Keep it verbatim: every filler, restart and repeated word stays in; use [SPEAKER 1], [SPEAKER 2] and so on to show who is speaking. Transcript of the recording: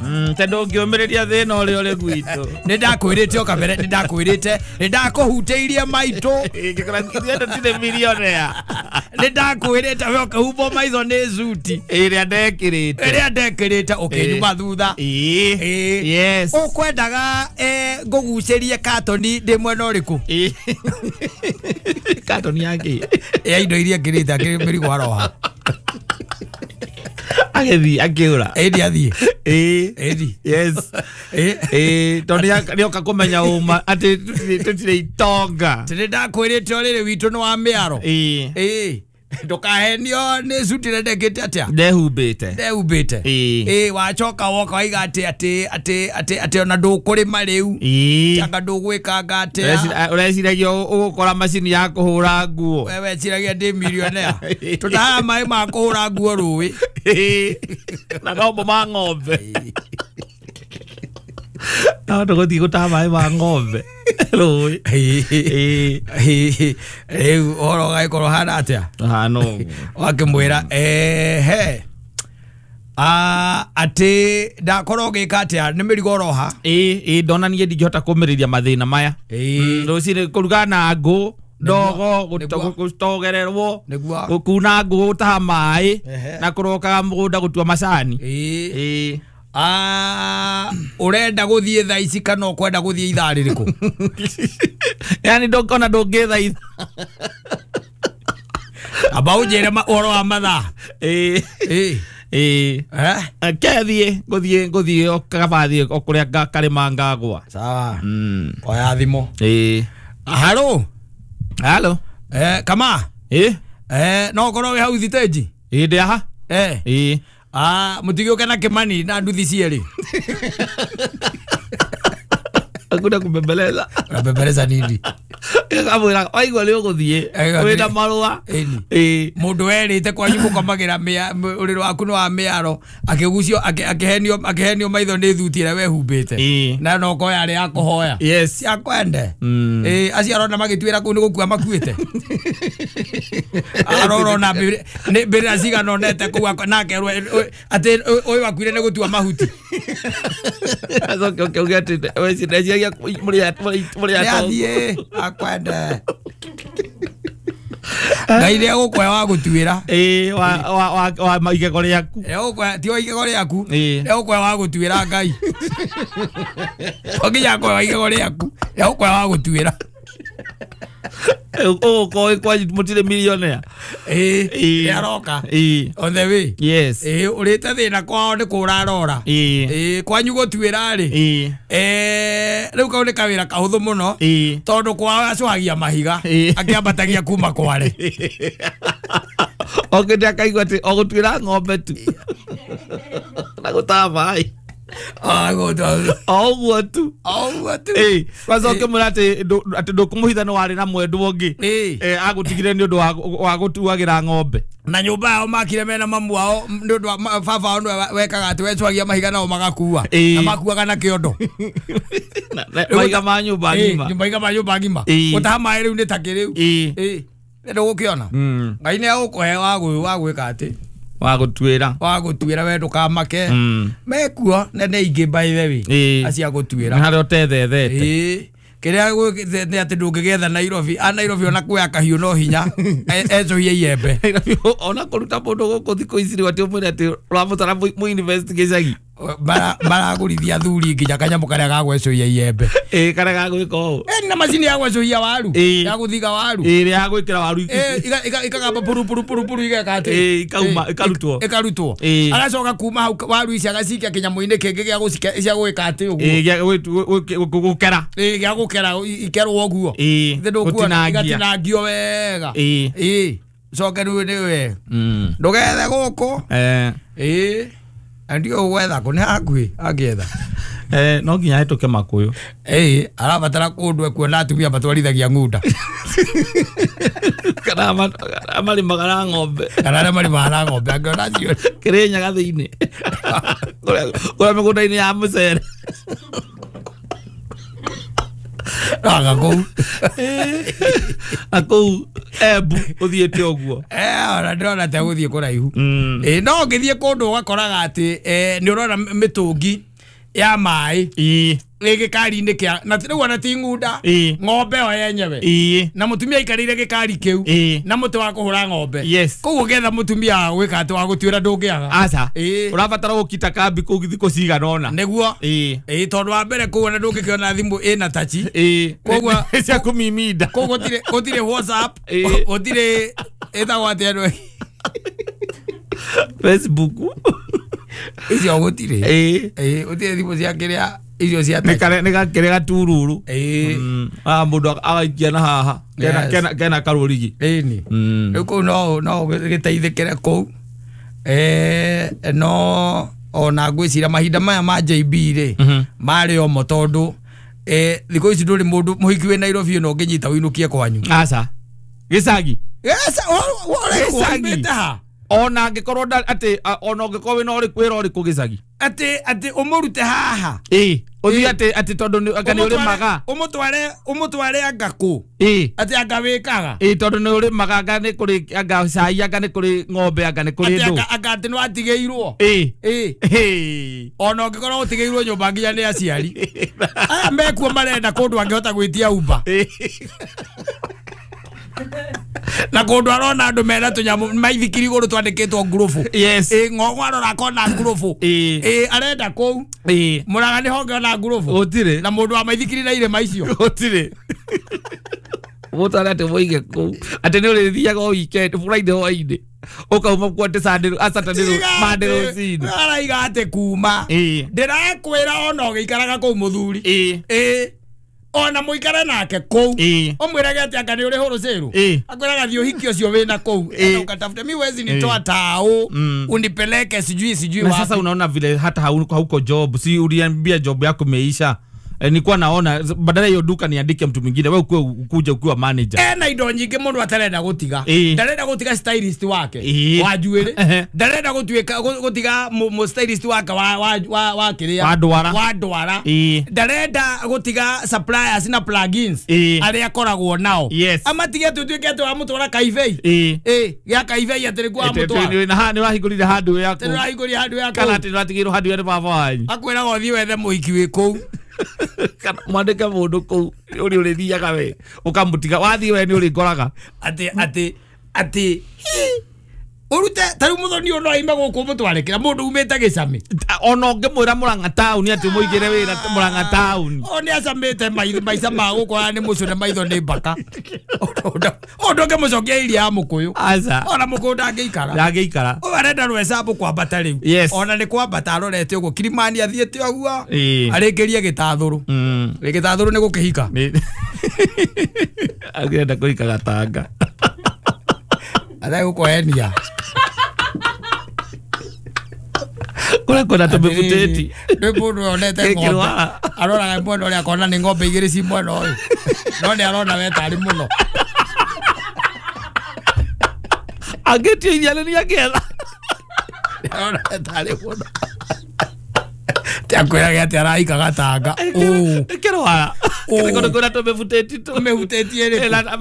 [SPEAKER 1] Mm, tondũ ũngĩũmĩrĩria thĩna ũrĩa ũrĩ gwitũ.
[SPEAKER 2] Nĩ ndakwĩrĩte o kabere, nĩ ndakwĩrĩte, nĩ ndakũhutĩirie maitũ.
[SPEAKER 1] Ingĩkora ithuĩ tũtirĩ millionaire.
[SPEAKER 2] Nĩ ndakwĩrĩte we ũkĩhumbwo maitho nĩ suti.
[SPEAKER 1] Ĩrĩa ndekĩrĩte.
[SPEAKER 2] Ĩrĩa ndekĩrĩte ũkĩnyuma thutha.
[SPEAKER 1] Ĩĩ.
[SPEAKER 2] Ĩĩ.
[SPEAKER 1] Yes.
[SPEAKER 2] Ũkwendaga eh, ngũgucĩrie katoni ndĩ mwena ũrĩkũ?
[SPEAKER 1] Ĩĩ. Katoni ya kĩ?
[SPEAKER 2] Ya indo iria ngĩrĩte akĩrĩ mĩrigo aroha.
[SPEAKER 1] Agĩthiĩ akĩũra.
[SPEAKER 2] Ĩndi athiĩ.
[SPEAKER 1] Ĩĩ.
[SPEAKER 2] Ĩndi.
[SPEAKER 1] Yes.
[SPEAKER 2] Ĩĩ.
[SPEAKER 1] Ĩĩ, tondũ nĩoka kũmenya ũma atĩ tũtirĩ tũtirĩ itonga.
[SPEAKER 2] Nĩ ndakwĩrĩte ũrĩrĩ witũ nĩ wa mĩaro.
[SPEAKER 1] Ĩĩ.
[SPEAKER 2] Ĩĩ. Ndũkahenio nĩ suti ĩrĩa ndekĩte atĩa?
[SPEAKER 1] Ndehumbĩte.
[SPEAKER 2] Ndehumbĩte.
[SPEAKER 1] Ĩĩ.
[SPEAKER 2] Ĩĩ, wacoka woka waiga atĩ atĩ atĩ atĩ atĩ ona ndũkũrĩma rĩu.
[SPEAKER 1] Ĩĩ.
[SPEAKER 2] Anga ndũgwĩkanga atĩa.
[SPEAKER 1] Ũrecira- Ũreciragia ũgũkora macini ya kũhũra nguo.
[SPEAKER 2] We weciragia ndĩ millionaire. Tũtahaga maĩ ma kũhũra nguo rũĩ.
[SPEAKER 1] Ĩĩ. Na nombo ma ng'ombe. No tũgũthiĩ gũtaha maĩ ma ng'ombe rũĩ. Ĩĩ.
[SPEAKER 2] Rĩu ũhoro ũgagĩkorwo hana atĩa?
[SPEAKER 1] Hana ũguo.
[SPEAKER 2] Wakĩmwĩra ehe Ah, atĩ ndakorwo ngĩka atĩa nĩ mĩrigo ũroha.
[SPEAKER 1] Ĩĩ, ĩĩ, ndona niĩ ndingĩhota kũmĩrĩria mathĩna maya.
[SPEAKER 2] Ĩĩ.
[SPEAKER 1] Rũcinĩ kũruga na ngũ, ndogo,
[SPEAKER 2] Nĩguo.
[SPEAKER 1] gũtogererwo,
[SPEAKER 2] Nĩguo.
[SPEAKER 1] gũkuna ngũ, gũtaha maĩ,
[SPEAKER 2] Ehe.
[SPEAKER 1] na kũrokaga mũgũnda gũtua macani.
[SPEAKER 2] Ĩĩ.
[SPEAKER 1] Ĩĩ.
[SPEAKER 2] Ah, ũrenda gũthiĩ thaa ici kana ũkwenda gũthiĩ ithaa rĩrĩkũ?
[SPEAKER 1] Yaani ndũngĩona ndũngĩthaitha.
[SPEAKER 2] Amba ũnjĩre ma- ũhoro wa mathaa.
[SPEAKER 1] Ĩĩ.
[SPEAKER 2] Ĩĩ.
[SPEAKER 1] Ĩĩ.
[SPEAKER 2] Eh?
[SPEAKER 1] Kethiĩ ngũthiĩ ngũthiĩ o kaba thiĩ o kũrĩa nga- karĩma ngagwa.
[SPEAKER 2] Sawa.
[SPEAKER 1] Mm.
[SPEAKER 2] Oya thimũ.
[SPEAKER 1] Ĩĩ.
[SPEAKER 2] Haro.
[SPEAKER 1] Halo.
[SPEAKER 2] Eh, kama.
[SPEAKER 1] Ĩĩ.
[SPEAKER 2] Eh, no ũkorwo wĩ hau thitĩnji.
[SPEAKER 1] Ĩĩ ndĩ haha.
[SPEAKER 2] Eh.
[SPEAKER 1] Ĩĩ.
[SPEAKER 2] Ah, mũtigĩũke na Kĩmani na nduthi cierĩ.
[SPEAKER 1] Hakuna kubembeleza.
[SPEAKER 2] Unabembeleza nini?
[SPEAKER 1] Kamwĩra waigua nĩ ũgũthiĩ
[SPEAKER 2] Eh,
[SPEAKER 1] wĩna marũa.
[SPEAKER 2] Ĩni.
[SPEAKER 1] Ĩĩ.
[SPEAKER 2] Mũndũ werĩte kwanyu mũkomagĩra mĩa- m- ũrĩrĩ waku nĩ wa mĩaro akĩgucio akĩ- akĩhenio akĩhenio maitho nĩ thuti ĩrĩa wehumbĩte.
[SPEAKER 1] Ĩĩ.
[SPEAKER 2] Na no ũkorwo yarĩ ya kũhoya.
[SPEAKER 1] Yes.
[SPEAKER 2] Cia kwende.
[SPEAKER 1] Mm.
[SPEAKER 2] Ĩĩ, acio arona magĩtuĩra kũu nĩ gũkua makuĩte. Arorona mbĩrĩ- nĩ mbĩrĩra cigana onete kũu ako- na akerwo ĩ- ũ- atĩ ũ- ũyũ akuire nĩ gũtua mahuti.
[SPEAKER 1] Acoke ũkĩuge atĩ weciragia mũrĩ a- mũrĩ mũrĩ
[SPEAKER 2] Nĩ
[SPEAKER 1] atongu.
[SPEAKER 2] athiĩ akwende. Ngai nĩ egũkũhe wa gũtuĩra.
[SPEAKER 1] Ĩĩ, wa wa wa wa igego rĩaku.
[SPEAKER 2] Egũkũhe ti wa igego rĩaku.
[SPEAKER 1] Ĩĩ.
[SPEAKER 2] Egũkũhe wa gũtuĩra Ngai. To nginya akũhe wa igego rĩaku. Egũkũhe wa gũtuĩra.
[SPEAKER 1] Ũgũkorwo wĩ kwanyu mũtirĩ millionaire.
[SPEAKER 2] Ĩĩ.
[SPEAKER 1] Ĩĩ.
[SPEAKER 2] Nĩ aroka.
[SPEAKER 1] Ĩĩ.
[SPEAKER 2] On the way.
[SPEAKER 1] Yes.
[SPEAKER 2] Ĩĩ, ũrĩte thĩna kwao nĩ kũra arora.
[SPEAKER 1] Ĩĩ.
[SPEAKER 2] Ĩĩ, kwanyu gũtuĩra rĩ.
[SPEAKER 1] Ĩĩ.
[SPEAKER 2] Eh, rĩu kau nĩ kawĩra kahũthũ mũno.
[SPEAKER 1] Ĩĩ.
[SPEAKER 2] Tondũ kwao acũhagia mahiga.
[SPEAKER 1] Ĩĩ.
[SPEAKER 2] Akĩambatagia kuma kware.
[SPEAKER 1] Okĩte akaigua atĩ o gũtuĩra ng'ombe tu. Na gũtaha maĩ.
[SPEAKER 2] Ah, gũtua.
[SPEAKER 1] O ũguo tu.
[SPEAKER 2] O ũguo tu.
[SPEAKER 1] Ĩĩ, kwanza ũkĩmwĩra atĩ ndũ- atĩ ndũkũmũhitha nĩ warĩ na mwendwa ũngĩ.
[SPEAKER 2] Ĩĩ.
[SPEAKER 1] Eh, agũtigire nĩ ũndũ wa wa gũtuagĩra ng'ombe.
[SPEAKER 2] Na nyũmba yao makire mena mamu wao nĩ ũndũ wa ma- baba wao nĩwe wekaga atĩ wecwagia mahiga nao magakua.
[SPEAKER 1] Ĩĩ.
[SPEAKER 2] Na makuaga na kĩondo.
[SPEAKER 1] Na- na- Mahiga ma nyũmba
[SPEAKER 2] Ĩĩ,
[SPEAKER 1] ng'ima.
[SPEAKER 2] nyũmba iga ma nyũmba ng'ima.
[SPEAKER 1] Ĩĩ.
[SPEAKER 2] Gũtaha maĩ rĩu nĩ takĩ rĩu.
[SPEAKER 1] Ĩĩ.
[SPEAKER 2] Ĩĩ. Nĩ ndũgũkĩona.
[SPEAKER 1] Mm.
[SPEAKER 2] Ngai nĩ egũkũhe wa gwĩ- wa gwĩka atĩ
[SPEAKER 1] Wa gũtuĩra.
[SPEAKER 2] wa gũtuĩra we ndũkamake.
[SPEAKER 1] Mm.
[SPEAKER 2] Mekuo na nĩ aingĩ by the way.
[SPEAKER 1] Ĩĩ.
[SPEAKER 2] Acio a gũtuĩra.
[SPEAKER 1] Nĩ harĩa ũtethethete.
[SPEAKER 2] Ĩĩ. Kĩrĩa gwĩ- nĩ atĩ ndũngĩgĩetha Nairobi. A Nairobi ona kuoya kahiũ no hinya. E- ecũhie iembe.
[SPEAKER 1] Ona kũruta mũndũ gũkũ thikũ ici rĩu atĩ ũmwĩre atĩ ũrabatara mũ invest gĩcagi.
[SPEAKER 2] Mara- maragũrithia athuri nginya kanyamũ karĩa ga gwecũhia iembe.
[SPEAKER 1] Ĩĩ, karĩa ga gwĩka ũũ.
[SPEAKER 2] Ĩ, na macini ya gwecũhia waru.
[SPEAKER 1] Ĩĩ.
[SPEAKER 2] Ya gũthiga waru.
[SPEAKER 1] Ĩĩ, ĩrĩa ya gwĩkĩra waru.
[SPEAKER 2] Ĩ, iga- iga- ikagamba puru puru puru puru igeka atĩ.
[SPEAKER 1] Ĩĩ, ikauma,
[SPEAKER 2] Ĩ,
[SPEAKER 1] ikarutwo.
[SPEAKER 2] ĩkarutwo.
[SPEAKER 1] Ĩĩ.
[SPEAKER 2] Agacoka kuma hau waru ici agacikia kĩnyamũ-inĩ kĩngĩ gĩa gũcike cia gwĩka atĩ ũguo.
[SPEAKER 1] Ĩĩ, gĩa gwĩ- gwĩ- gwĩ- gũkera.
[SPEAKER 2] Ĩĩ, gĩa gũkera i- ikerwo ũguo.
[SPEAKER 1] Ĩĩ,
[SPEAKER 2] Githĩ ndũkuona
[SPEAKER 1] gũtinangia.
[SPEAKER 2] igatinangio wega.
[SPEAKER 1] Ĩĩ.
[SPEAKER 2] Ĩĩ. Coke rĩu nĩwe.
[SPEAKER 1] Mm.
[SPEAKER 2] Ndũgethe gũkũ.
[SPEAKER 1] Eh,
[SPEAKER 2] Ĩĩ. Na ndiũĩ ũgwetha kũ nĩ hakuhĩ angĩetha.
[SPEAKER 1] eh, no nginya hĩtũke makũyũ.
[SPEAKER 2] Ĩĩ, arabatara kũndũ ekuona atumia matwarithagia ng'unda.
[SPEAKER 1] Kana ama- marĩmaga na ng'ombe.
[SPEAKER 2] Kana arĩa marĩmaga na ng'ombe angĩona acio.
[SPEAKER 1] Kĩrĩnyaga thĩinĩ. Kũrĩa kũrĩa mĩgũnda-inĩ ya mũcere.
[SPEAKER 2] Aga kũu.
[SPEAKER 1] Na kũu Embu uthiĩte ũguo.
[SPEAKER 2] Eh, ona ndĩrona ta gũthiĩ kũraihu.
[SPEAKER 1] Mm.
[SPEAKER 2] Ĩ no ũngĩthiĩ kũndũ ũgakoraga atĩ eh, nĩ ũrona mĩtũngi ya maĩ
[SPEAKER 1] Ĩĩ.
[SPEAKER 2] ĩ gĩkari-inĩ kĩa na rĩu ona ti ng'unda
[SPEAKER 1] Ĩĩ.
[SPEAKER 2] ng'ombe yo yenyewe
[SPEAKER 1] Ĩĩ.
[SPEAKER 2] na mũtumia aikarĩire gĩkari kĩu
[SPEAKER 1] Ĩĩ.
[SPEAKER 2] na mũtĩ wa kũhũra ng'ombe.
[SPEAKER 1] Yes.
[SPEAKER 2] Koguo ũngĩetha mũtumia wa gwĩka atĩ wa gũtuĩra ndũngĩaga.
[SPEAKER 1] Aca.
[SPEAKER 2] Ĩĩ.
[SPEAKER 1] Ũrabatara gũkita kambi kũu thikũ cigana ũna.
[SPEAKER 2] Nĩguo.
[SPEAKER 1] Ĩĩ.
[SPEAKER 2] Ĩĩ tondũ wa mbere kũu ona ndũngĩkĩona thimũ ĩna tachi.
[SPEAKER 1] Ĩĩ.
[SPEAKER 2] Koguo-
[SPEAKER 1] cia kũmiminda.
[SPEAKER 2] Kũu gũtirĩ gũtirĩ WhatsApp,
[SPEAKER 1] Ĩĩ.
[SPEAKER 2] gũtirĩ ĩtagwo atĩa andũ
[SPEAKER 1] Facebook.
[SPEAKER 2] icio gũtirĩ.
[SPEAKER 1] Ĩĩ.
[SPEAKER 2] Ĩĩ gũtirĩ thimũ cia kĩrĩa icio cia
[SPEAKER 1] Nĩ
[SPEAKER 2] touch.
[SPEAKER 1] kare nĩ gakĩrĩ gatururu.
[SPEAKER 2] Ĩĩ.
[SPEAKER 1] Mm. Ah mũndũ agaikia na haha. Kena
[SPEAKER 2] Yes.
[SPEAKER 1] kena kena karũrigi.
[SPEAKER 2] Ĩni.
[SPEAKER 1] Mm.
[SPEAKER 2] Rĩu kũu no no gĩteithĩkĩre kũu. Eh no ona ngwĩciria mahinda maya ma J B rĩ
[SPEAKER 1] Mhm.
[SPEAKER 2] marĩ omo tondũ eh thikũ ici ndũrĩ mũndũ mũhiki wĩ Nairobi ĩno ũngĩnyita ũinũkie kwanyu.
[SPEAKER 1] Aca. Gĩcagi.
[SPEAKER 2] Yes,
[SPEAKER 1] Gĩcagi.
[SPEAKER 2] ũrĩkũ ha
[SPEAKER 1] Ona angĩkorwo nda- atĩ a- ona ũngĩkorwo wĩna ũrĩkũ wĩra ũrĩkũ gĩcagi.
[SPEAKER 2] atĩ atĩ ũmũrute haha
[SPEAKER 1] Ĩĩ. Ũthiĩ
[SPEAKER 2] Ĩĩ.
[SPEAKER 1] atĩ atĩ tondũ nĩ anga nĩ ũrĩmaga.
[SPEAKER 2] ũmũtware ũmũtware anga kũ
[SPEAKER 1] Ĩĩ.
[SPEAKER 2] atĩ anga wĩkaga
[SPEAKER 1] Ĩĩ tondũ nĩ ũrĩmaga anga nĩ kũrĩ anga cai anga nĩ kũrĩ ng'ombe anga nĩ kũrĩ
[SPEAKER 2] atĩ
[SPEAKER 1] ndũ.
[SPEAKER 2] anga anga atĩ nĩ watigĩirwo
[SPEAKER 1] Ĩĩ.
[SPEAKER 2] ĩĩ
[SPEAKER 1] Ĩĩ.
[SPEAKER 2] ona ũngĩkorwo ũtigĩirwo nyũmba nginya nĩ aciari aya mekuo marenda kũndũ angĩhota gwĩtia Uber
[SPEAKER 1] Ĩĩ.
[SPEAKER 2] na kũndũ arona andũ mena tũnyamũ maithikiri igũrũ twandĩkĩtwo ngurubu.
[SPEAKER 1] Yes.
[SPEAKER 2] Ĩĩ ng'ong'o arora akona ngurubu.
[SPEAKER 1] Ĩĩ.
[SPEAKER 2] Ĩĩ arenda kũu
[SPEAKER 1] Ĩĩ.
[SPEAKER 2] Mũraga nĩ honge ona ngurubu
[SPEAKER 1] Gũtirĩ.
[SPEAKER 2] na mũndũ wa maithikiri na irĩma icio
[SPEAKER 1] Gũtirĩ. Mũtware atĩ mũige kũu atĩ nĩ ũrĩthiaga o weekend Friday hwainĩ ũkauma kuo atĩ Sunday a Saturday Monday rũcinĩ.
[SPEAKER 2] Araiga atĩ kuma
[SPEAKER 1] Ĩĩ.
[SPEAKER 2] ndĩrakwĩra ona ũgĩikaraga kũu mũthuri.
[SPEAKER 1] Ĩĩ.
[SPEAKER 2] Ĩĩ ona mũikare nake kũu
[SPEAKER 1] Ĩĩ.
[SPEAKER 2] ũmwĩrage atĩ anga nĩ ũrĩ hũrũcĩrũ
[SPEAKER 1] Ĩĩ.
[SPEAKER 2] akwĩraga thiĩ ũhiki ũcio wĩna kũu
[SPEAKER 1] Ĩĩ.
[SPEAKER 2] enda ukatafute mi wezi nitoa tao
[SPEAKER 1] Mm.
[SPEAKER 2] unipeleke sijui sijui
[SPEAKER 1] Na
[SPEAKER 2] wapi.
[SPEAKER 1] sasa unaona vile hata hauko, hauko job, si uliambia job yako imeisha. E, nilikuwa naona badala hiyo duka niandike mtu mwingine, wewe ukue ukuje ukiwa manager.
[SPEAKER 2] Ena indo nyingĩ mũndũ atarenda gũtiga.
[SPEAKER 1] Ĩĩ.
[SPEAKER 2] Ndarenda gũtiga stylist wake
[SPEAKER 1] Ĩĩ.
[SPEAKER 2] wa njuĩrĩ.
[SPEAKER 1] Ehe.
[SPEAKER 2] Ndarenda gũtuĩka gũ- gũtiga mũ mũ stylist wake wa wa wa wa kĩrĩa
[SPEAKER 1] Wa ndwara.
[SPEAKER 2] wa ndwara.
[SPEAKER 1] Ĩĩ.
[SPEAKER 2] Ndarenda gũtiga suppliers na plugins
[SPEAKER 1] Ĩĩ.
[SPEAKER 2] arĩa akoragwo nao.
[SPEAKER 1] Yes.
[SPEAKER 2] Amatige tutuĩke atĩ wamũtwara kaibei.
[SPEAKER 1] Ĩĩ.
[SPEAKER 2] Ĩĩ gĩa kaibei atĩ nĩkuo wamũtwara.
[SPEAKER 1] Ĩĩ, na ha nĩ wahingũrire handũ yaku.
[SPEAKER 2] Atĩ nĩũrahingũria handũ ya
[SPEAKER 1] Kana
[SPEAKER 2] kũu.
[SPEAKER 1] atĩ nĩwatigĩirwo handũ ya nĩ baba wanyu.
[SPEAKER 2] Akwĩraga ũthiĩ wethe mũhiki wĩ kũu.
[SPEAKER 1] Kana mwandĩke mũndũ kũu ũrĩa ũrĩthiaga we ũkamũtiga wathiĩ we nĩ ũrĩkoraga.
[SPEAKER 2] Atĩ atĩ atĩ ũrute ta rĩu mũthoni ũyũ no aime gũkũ ũmũtware kĩra mũndũ umĩte gĩcamĩ.
[SPEAKER 1] Ona ũngĩmwĩra Mũrang'a taũni atĩ ũmũigĩre wĩra Mũrang'a taũni.
[SPEAKER 2] O nĩ acamĩte maitho maica ma gũkũ aya nĩ mũcũne maitho nĩ mbaka. Ũndũ ũngĩmũcokia iria ya mũkũyũ.
[SPEAKER 1] Aca.
[SPEAKER 2] Ona mũkũyũ ndangĩikara.
[SPEAKER 1] Ndangĩikara.
[SPEAKER 2] Ũyũ arenda rwecambũ kwambata rĩu.
[SPEAKER 1] Yes.
[SPEAKER 2] Ona nĩ kwambata arorete ũguo Kilimani athiĩte ũguo.
[SPEAKER 1] Ĩĩ.
[SPEAKER 2] Arĩkĩrie gĩtathũrũ.
[SPEAKER 1] Mm.
[SPEAKER 2] Gĩtathũrũ nĩ gũkĩhika.
[SPEAKER 1] Nĩ- Angĩenda kũhika Gatanga.
[SPEAKER 2] Ategũkũhenia.
[SPEAKER 1] Kũrĩa kwĩna tũmĩbutĩti.
[SPEAKER 2] Nĩ mũndũ wonete ng'ombe.
[SPEAKER 1] Gĩkĩrwara.
[SPEAKER 2] Aroraga mwena ũrĩa akona nĩ ng'ombe igĩrĩ ci mwena ũyũ. No nĩ arona we tarĩ mũno.
[SPEAKER 1] Angĩtia iria nĩ angĩetha.
[SPEAKER 2] Nĩ arona we tarĩ mũno. Ti akwĩrage atĩ arahika Gatanga. Ũ.
[SPEAKER 1] Kĩrwara.
[SPEAKER 2] Ũ.
[SPEAKER 1] Kũrĩa kwĩna tũmĩbutĩti tũ.
[SPEAKER 2] Tũmĩhutĩtie ĩrĩkũ?